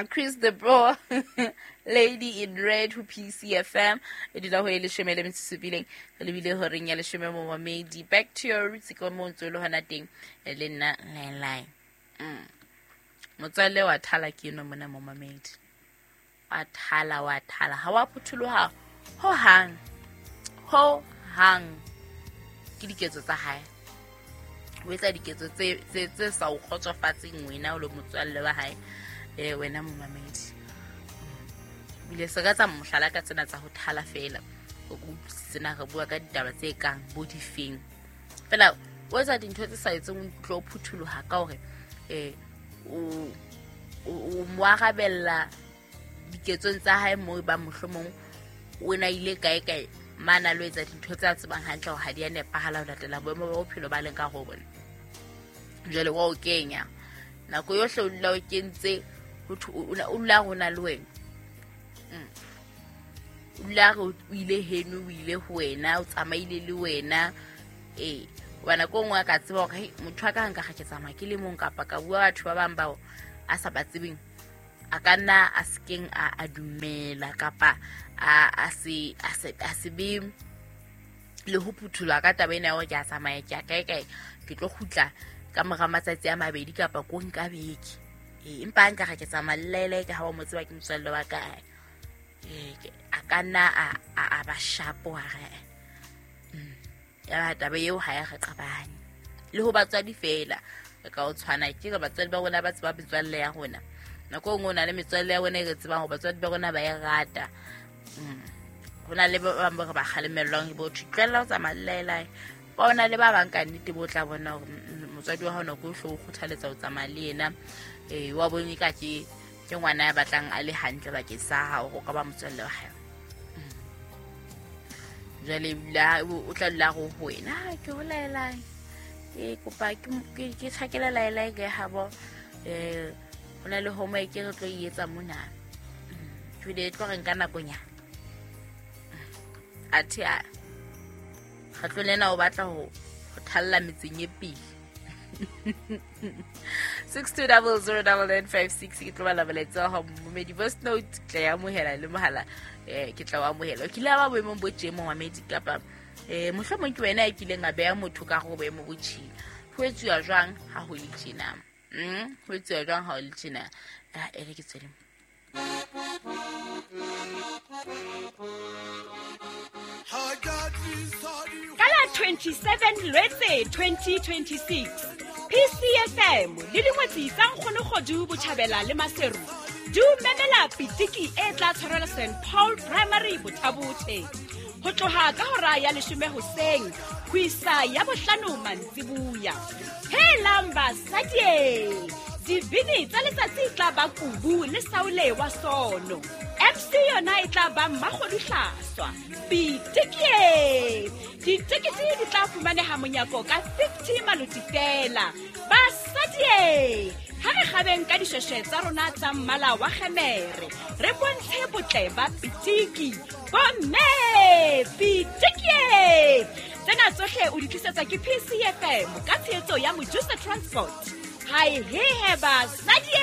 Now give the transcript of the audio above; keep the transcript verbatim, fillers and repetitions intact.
Chris the Bro, Lady in Red ho P C F M. E dula ho e leshome le metso e supileng, re lebile horeng ya leshome momamedi. Back to your roots ke mo ntse le hona teng le nna line. Mm. Motswalle wa thala ke eno mona momamedi. Wa thala wa thala ha wa phutholoha ho hang. Ho hang ke diketso tsa hae. O etsa diketso tse tse tse sa o kgotsofatseng wena o le motswalle wa hae. Eh wena momamedi. Bile se ka tsa mohlala ka tsena tsa ho thala fela. O utlwisise na re bua ka ditaba tse kang bo difeng. Fela o etsa dintho tse sa etseng o ikutlwe o phutholoha ka hore eh o o mo arabella diketsong tsa hae moo ba mohlomong o na ile kae kae mana lo etsa dintho tse a tsebang hantle hore ha di a nepahala ho latela boemo ba bophelo ba leng ka ho bona. Jwale wa o kenya nako yohle o dula o kentse ho o dula rona le wena. Mm. O dula re o ile heno o ile ho wena o tsamaile le wena. Eh hobane nako e nngwe a ka tseba hore motho a ka nka ga ke tsamaya ke le mong kapa ka bua batho ba bang bao a sa ba tsebeng a ka nna a sekeng a a dumela kapa a a se a se a se be le ho phutholwa ka taba ena ya hore ke a tsamaya ke a kae kae ke tlo kgutla ka mora matsatsi a mabedi kapa ko nka beke. Eh empa nka ga ke tsamaya lele ke ha wa mo tseba ke motswalle wa ka. Eh a ka nna a a ba shapo hare. Mm. Ya taba eo ha ya re qabane. Le ho batswadi fela ka o tshwana ke re batswadi ba rona ba tseba metswalle ya rona. Nako e nngwe o na le metswalle ya rona e re tsebang hore batswadi ba rona ba e rata. Mm. Ho na le ba bang ba re ba kgalemellwang bo thwe tlohella ho tsamaya lelaelae. Ba ona le ba bang ka nnete bo tla bona hore motswadi wa hao nako yohle o kgothaletsa ho tsamaya le yena. Eh wa bone ka ke ke ngwana ya batlang a le hantle bakeng sa hao ho ka ba motswalle wa hae. Jwale la o tla dula go ho wena ke ho laelae. Ke kopa ke ke tshakela laelae ke habo eh ho na le homework e re tlo e etsa mona. Jwale e tlo re nka nakonyana. Athe a kgetlo lena o batla ho ho thalla metseng e pele. six two zero zero nine nine five six ke tlo bala molaetsa wa hao momedi. Voice note ke tla e amohela le mohala eh ke tla o amohela. O kile wa ba boemong bo tje momamedi kapa eh mohlomong ke wena ya kileng a beha motho ka go boemo bo tjena. Ho etsuwa jwang ha ho le tjena? Mm, ho etsuwa jwang ha ho le tjena? Ah e re ke tswele. Ka la twenty-seven Lwetse twenty twenty-six P C F M le dingwetsi tsa Nkgonokgodu Botjhabela le Maseru di o memela pitiki e tla tshwarelwa Saint Paul Primary Bothabothe ho tloha ka hora ya leshome hoseng ho isa ya bohlano mantsibuya. Helang basadi, dibini tsa letsatsi tla ba Kubu le Saule wa Sono. M C yona e tla ba Mmakgodu Hlaswa. Pitiki! Ditekete di tla fumaneha monyako ka fifty maloti fela. Basadi, ha re kgabeng ka dishweshwe tsa rona tsa mmala wa kgemere, re bontshe botle ba pitiki. Bomme, pitiki! Tsena tsohle o di tlisetsa ke P C F M ka tshehetso ya Mojusa Transport. Hai he he basadi!